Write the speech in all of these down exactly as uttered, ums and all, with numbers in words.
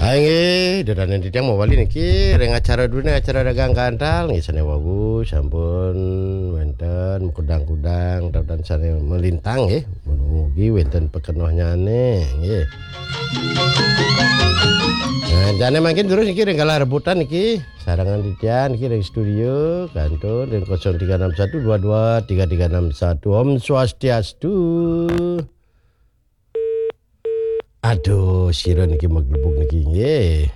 Inggih, dudonan titiang mawali niki ring acara dudonan acara dagang kantal nggih sane wau sampun wenten kudang-kudang tatan sane melintang nggih. Mugi wenten pakenohnyane nggih. Nah, jane mangkin terus niki ring galah rebutan niki sarangan titiang niki ring studio kantun ring kosong tiga enam satu dua dua tiga tiga enam satu. Om Swastiastu. Aduh, sira niki maglebug niki nggih.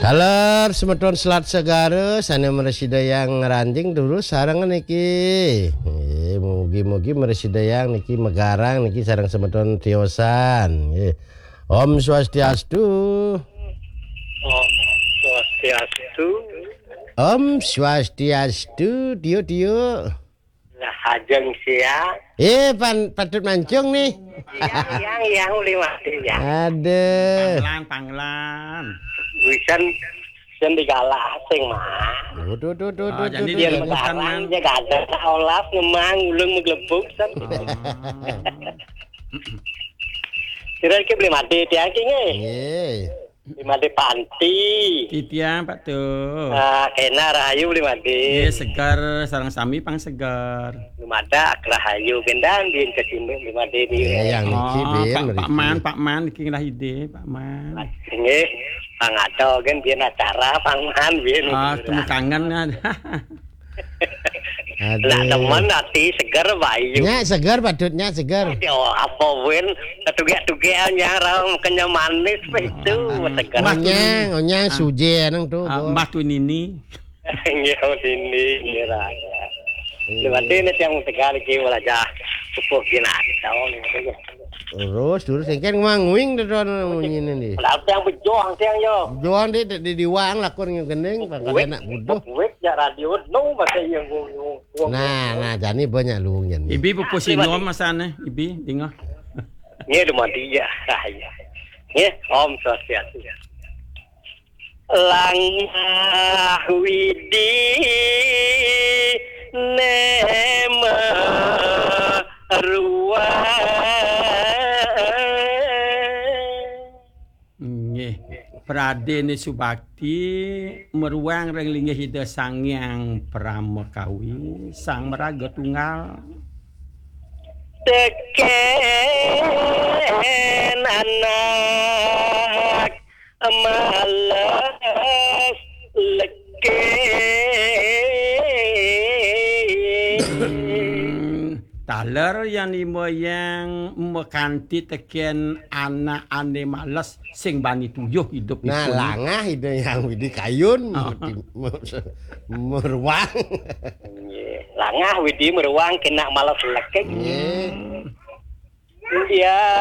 Taler semeton Selat Segara sane mrasidayang ngranjing terus sareng niki. Nggih, mugi-mugi mrasidayang niki megarang niki sareng semeton tiosan nggih. Om Swastiastu. Om Swastiastu. Om Swastiastu, tio tio. Lah, ajeng siang. Eh, pan patut mancung nih. Yang, yang, yang, ulih mati, ya. Aduh. Panglan, panglan. Wisan, wisan digalah sing mah. Duh, duh, duh, duh, Oh, duh, jadi duh, dia duh. Bukan, megarang, man. Dia gagah, olas, ngemang, ulung, meglebuk, san. Oh. Kira-kira beli mati, tiang, ki, nggih. Nggih. Di Made Panti. Titiang, Pak, tuh. Ah, kena rahayu beli Made. Nggih, segar, sareng sami pang segar. Lumadak rahayu bendan bin kecimbe beli Made di. Eh, yang niki Oh, bin, Pak, Pak mriki. Man, Pak Man, niki ngelah ide, Pak Man. Nggih, pang ada kan bin acara, pang man bin. Ah, temu kangen kan. Aduh. Lah, temen ati seger, Bayu. Nya seger, patutnya seger. Yo, apa win? Ketugek-tugek nyarang kenyam manis, itu seger. Mbah Onyang, Tuni. Onyang Ah. Suje nang tu, Ah, Bo. Mbah Tunini. Nggih, sini, nggih, Raja. Iya. Berarti ini yang tegal iki, Raja. Sepuh gila, tahu nih. Terus, terus, engken ngwang-wing to, to, munyine ndi. Lah, tiang bejoh, tiang yo. Bejoh ndi, di, di, diwang lakun ngegending, pangkat Wik, anak buduh. Wik, ya radio, no, bahasa yang ngomong. Nah, nah, jani banyak luwung yen. Ibi pupuh Asli, sinom Pak. Masane, Ibi, dingah. Nggih, dumadi ya, rahayu. Nggih, Om Swastiastu. Langah Widi nema ruang. Nggih. Pradene subakti meruang ring linggih Ida Sang Hyang Pramakawi, Sang Maraga Tunggal. Teken anak males leke. Taler yang lima yang mekanti teken anak ane males sing bani tuyuh hidup. Nah, ipun. Langah Ida Hyang Widi Kayun, oh. Mesti mer-, meruang. Nggih. Langah Widi meruang kena males lekek. Nggih. Iya.